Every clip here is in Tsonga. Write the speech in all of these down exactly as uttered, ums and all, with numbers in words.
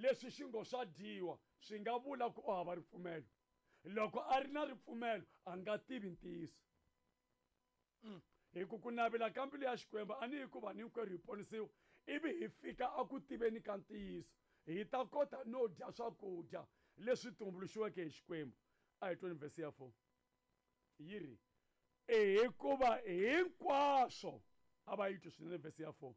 leswi xi ngo swa dyiwa swi nga vula ku u hava ripfumelo. Loko a ri na ripfumelo a nga tivi ntiyiso. Hi ku ku navela ka mbilu ya Xikwembu a ni hikuva hinkwerhu hi ponisiwa ivi hi fika a ku tiveni ka ntiyiso, hi ta kota no dya swakudya leswi tumbuluxiweke hi Xikwembu. A hi tweni vhesi ya four yi ri, hikuva hinkwaswo, a va yi twi swinene vhesi ya four,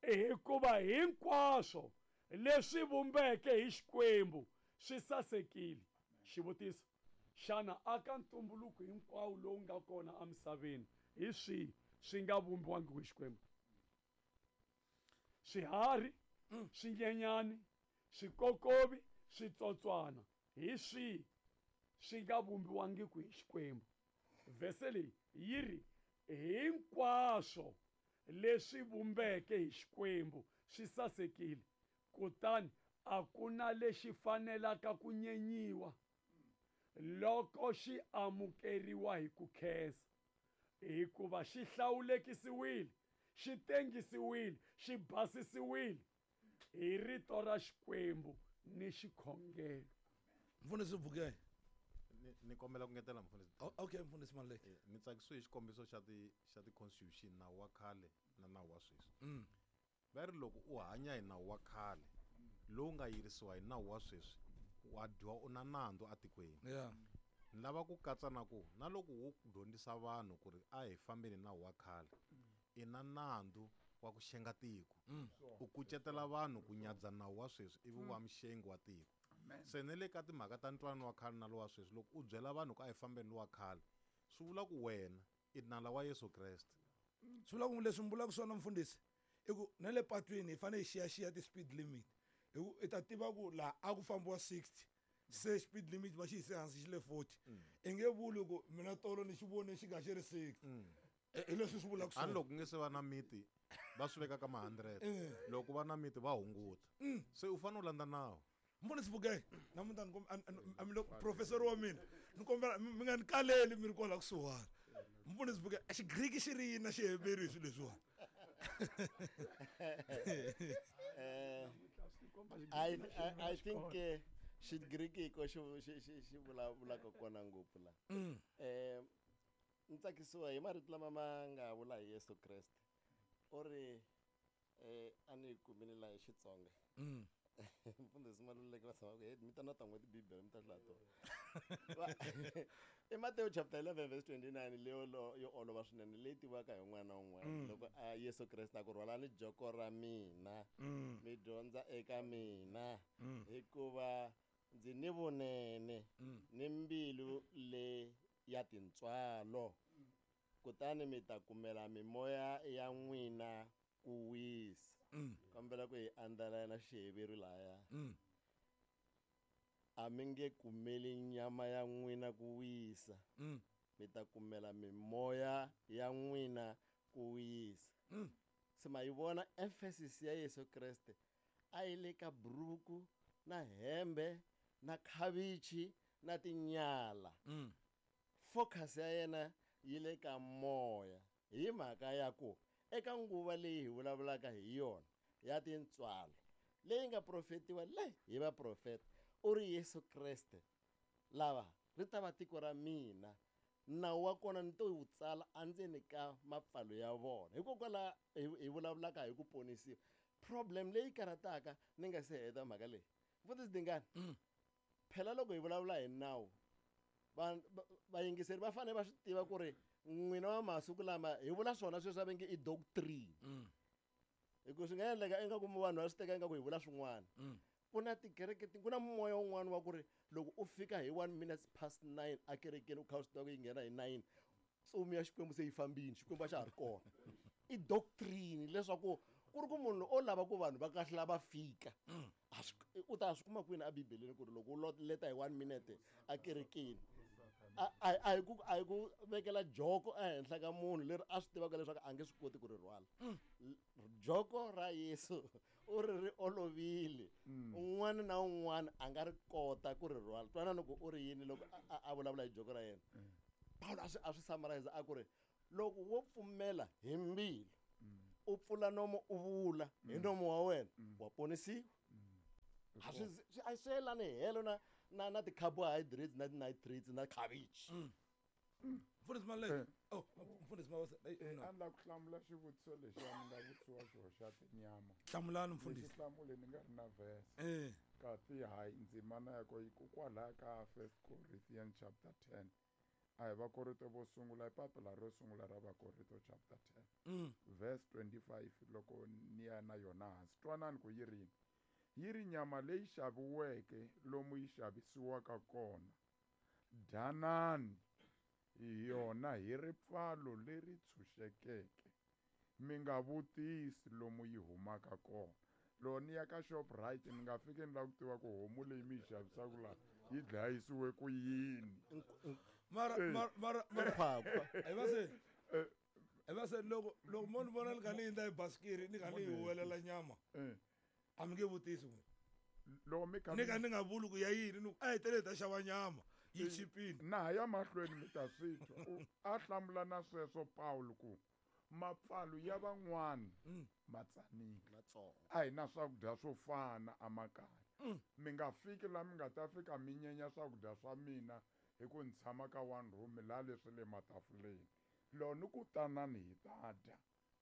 hikuva hinkwaswo leswi vumbeke hi Xikwembu swi sasekile. Xivutiso, xana aka ntumbuluko hinkwawo lowu nga kona emisaveni hi swihi swi nga vumbiwangi hi Xikwembu? Swiharhi, swinyenyani, swikokovi, switsotswana, hi swihi swi nga vumbiwangiku hi Xikwembu? Vhese leyi yi ri hinkwaswo leswi vumbeke hi Xikwembu swi sasekile, kutani a ku na lexi fanelaka ku nyenyiwa loko xi amukeriwa hi ku khensa, hikuva xi hlawulekisiwile, xi tengisiwile, xi basisiwile hi rito ra Xikwembu ni xikhongelo. Mfundhisi Vuke. Ni, ni kombela ku ngetela mfundhisi. Okay, mfundhisi Maluleke. Ni tsakisiwe hi xikombiso xa ti xa ti constitution, nawu wa khale na nawu wa sweswi. Mm. Va ri loko u hanya hi nawu wa khale lowu nga yirisiwa hi nawu wa sweswi, wa dyiwa u na nandzu atikweni. Yeah. Ni lava ku katsa na ku na loko wo dyondzisa vanhu ku ri a hi fambeni nawu wa khale, i na nandzu wa ku xenga tiko. Mm. U kucetela vanhu ku nyadza nawu wa sweswi ivi wa mxengi wa tiko. Se ne le ka timhaka ta ntwanano wa khale na lowa sweswi, loko u byela vanhu ku a hi fambeni lowa khale, swi vula ku wena i nala wa Yesu Kreste. Swi vula ku leswi mi vulaka swona mfundhisi i ku na le patwini hi fanele hi xiyaxiya ti-speed limit, hi ku i ta tiva ku laha a ku fambiwa sixty, se speed limit va xi yise hansi xi le forty. I nge vuli ku mina tolo ni xi vone xi nga xi ri sixty. Hi leswi swi vulaka A ni swona. loko ku nge se va na miti va swi veka ka ma hundred, loko va na miti va hunguta. Se u fanele u landza nawu. Mfundhisi Vuke, namuntlha ni komba, a, a, a, mi loko professor wa mina, ni kombela mi nga ni kaleli mi ri kwala kusuhani. Mfundhisi Vuke, Xigriki xi ri yini na Xiheveru hi swilo leswiwani? Eh, I, I, I think eh, Xigriki hi ko xi, xi, xi, xi vulavulaka kona ngopfu la. Eh, ni tsakisiwa hi marito lama ma nga vula hi Yesu Kreste. U ri, eh, a ni yi kumile laha hi Xitsonga. Mfundhisi Maluleke va tshama ku, hey, mi ta na tan'we tibibele mi ta hlaya tona. I Matewu chapter eleven verse twenty-nine leyo lo, yo olova swinene leyi tiviwaka hi un'wana na un'wana. Loko a Yesu Kreste a ku rhwalani joko ra mina, mi dyondza eka mina, hikuva ndzi ni vunene ni mbilu le ya tintswalo, kutani mi ta kumela mimoya ya n'wina ku wisa. Kombela ku hi andlala na Xiheveru laya. A mi nge kumeli nyama ya n'wina ku wisa, mi ta kumela mimoya ya n'wina ku wisa. Se ma yi vona emphasis ya Yesu Kreste a yi le ka buruku na hembe na khavichi na tinyala. Focus ya yena yi le ka moya, hi mhaka ya ku eka nguva leyi hi vulavulaka hi yona ya tintswalo leyi nga profetiwa le hi vaprofeta, u ri Yesu Kreste lava ri ta va tiko ra mina, nawu wa kona ni to wu tsala endzeni ka mapfalo ya vona. Hikokwalaho hi, hi vulavulaka hi ku ponisiwa. Problem leyi karhataka ni nga se heta mhaka leyi, Mfundhisi Dingani, phela loko hi vulavula hi nawu, va, va, vayingiseri va fanele va swi tiva ku ri n'wina wa masiku lama hi vula swona sweswi va nge i doctrine. Hi ku swi nga endleka ingaku vanhu va swi teka ingaku hi vula swin'wana. Ku na tikereke, ku na moya wun'wana wa ku ri loko u fika hi one minutes past nine a kerekeni u kha u swi tiva ku yi nghena hi nine, ntsumi ya Xikwembu se yi fambile, Xikwembu a xa ha ri kona. I doctrine leswaku ku ri ku munhu o lava ku vanhu va kahlula va fika, a swi, u ta swi kuma kwini a Bibeleni ku ri loko u leta hi one minute a kerekeni, a, a, a hi ku, a hi ku vekela joko ehenhla ka munhu leri a swi tivaka leswaku a nge swi koti ku ri rhwala. Joko ra Yesu u ri ri olovile, un'wana na un'wana a nga ri kota ku ri rhwala. Twanana ku u ri yini loko a, a, a vulavula hi joko ra yena. Paulo a swi, a swi summarize a ku ri loko wo pfumela hi mbilu, u pfula nomo u vula hi nomo wa wena, wa ponisiwa. A swi a swi yelani helo na na na ti-carbohydrates na ti-nitrates na cabbage. Mfundhisi Maluleke. Oh, mfundhisi Mabasa. A ni lava ku hlamula xivutiso lexiya ni nga vutisiwa xoho xa tinyama. Hlamulani mfundhisi. Lexi hlamule ni nga ri na verse. Eh. Kasi hayi ndzimana ya ko yi ku kwalaya ka First Corinthians chapter ten. A hi Vakorinto vo sungula i papila ro sungula ra Vakorinto chapter ten. Mm. Verse twenty-five loko ni ya na yona hansi. Twanani ku yi rini. Yi ri nyama leyi xaviweke lomu yi xavisiwaka kona. Dyanani yona hi ripfalo leri tshunxekeke. Mi nga vutisi lomu yi humaka kona. Loko ni ya ka Shoprite ni nga fiki ni lava ku tiva ku homu leyi mi yi xavisaka laha yi dlayisiwe ku yini. Mara mara mara mara Nkhwakhwa. Hi va se hi va se loko loko mo ni vona ni kha ni hundza hi basikiri ni kha ni yi huwelela nyama. A mi nge vutisi n'wina. Loko mi kha Ni kha ni nga vuli ku ya yini ni ku a hi tele hi ta xava nyama yi chipile. Na ha ya mahlweni mi ta swi twa. A hlamula na sweswo Paul ku mapfalo ya van'wana ma tsanile. Matsongo. A hi na swakudya swo fana emakaya. Mi nga fiki laha mi nga ta fika mi nyenya swakudya swa mina hi ku ni tshama ka one room laha leswi le matafuleni. Loko ni ku tanani hi ta dya,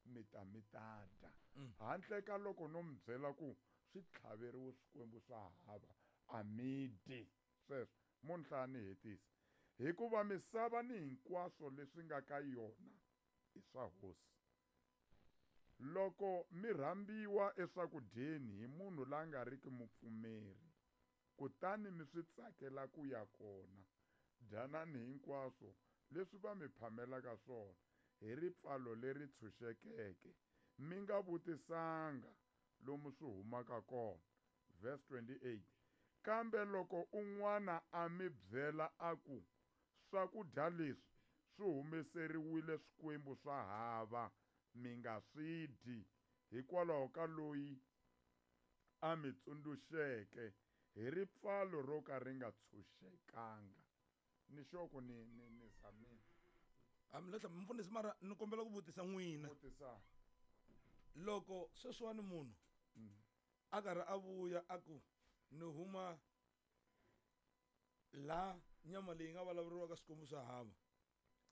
mi ta mi ta dya. Handle ka loko no mi byela ku swi tlhaveriwe swikwembu swa hava, a mi dyi. Sweswo mo ni hlaya ni hetisa. Hikuva misava ni hinkwaswo leswi nga ka yona i swa hosi. Loko mi rhambiwa eswakudyeni hi munhu la nga riki mupfumeri, kutani mi swi tsakela ku ya kona, dyanani hinkwaswo leswi va mi phamelaka swona hi ripfalo leri tshunxekeke, mi nga vutisanga lomu swi humaka kona. Verse twenty-eight. Kambe loko un'wana a mi byela a ku swakudya leswi swi humeseriwile swikwembu swa hava, mi nga swi dyi hikwalaho ka loyi a mi tsundzuxeke hi ripfalo ro ka ri nga tshunxekanga. Ni sure ku ni ni ni zamile. A mi lahla mfundhisi mara ni kombela ku vutisa n'wina. Vutisa. Loko sweswiwani munhu a karhi a vuya a ku ni huma la nyama leyi nga vulavuriwaka swikwembu swa hava.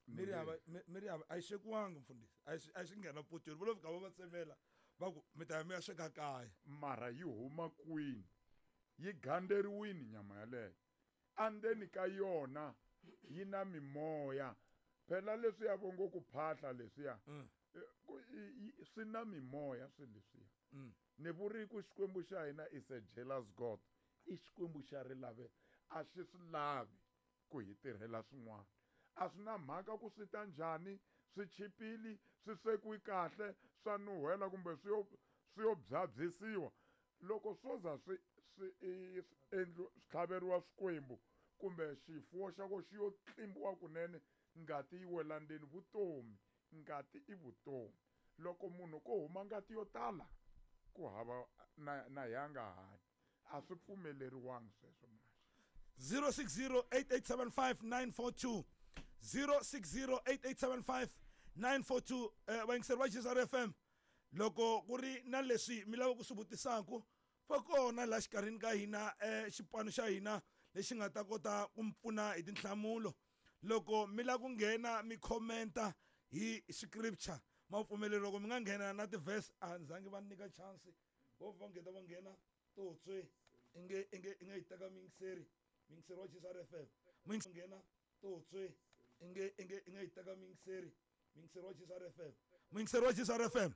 Mi ri hava mi ri hava a yi swekiwangi mfundhisi, a yi a yi nghena potweni, vo lo fika va va tsemela va ku mi ta ya mi ya sweka kaya. Mara yi huma kwini? Yi gandzeriwini nyama yaleyo. Andzeni ka yona yi na mimoya. Phela leswiya vo ngo ku phahla leswiya, swi na mimoya swilo leswiya. Ni vuri ku Xikwembu xa hina is a jealous God. I Xikwembu xa rilave, a xi swi lavi ku hi tirhela swin'wana. A swi na mhaka ku swi ta njhani, swi chipile, swi swekiwe kahle, swa nuhela kumbe swi yo swi yo byabyisiwa. Loko swo za swi swi endliwa swi tlhaveriwa swikwembu kumbe xifuwo xa ko xi yo tlimbiwa kunene, ngati yi wela ndzeni, vutomi, ngati i vutomi. Loko munhu ko huma ngati yo tala, ku hava na na ya nga hanyi. A swi pfumeleriwangi sweswo manje. zero six zero eight eight seven five nine four two zero six zero eight eight seven five nine four two. Eh vayingiseri va G S R F M, loko ku ri na leswi mi lava ku swi vutisaku, va kona laha xikarhini ka hina eh xipano xa hina lexi nga ta kota ku mi pfuna hi tinhlamulo. Loko mi lava ku nghena mi commenta hi scripture, ma pfumeleriwa loko mi nga nghena na ti-verse, a ni zangi va nyika chance. Vo va nghena va nghena totswe inge inge inge yi teka muyingiseri, muyingiseri wa G S R F M. Muyingiseri nghena totswe inge inge inge yi teka muyingiseri, muyingiseri wa G S R F M. Muyingiseri wa G S R F M.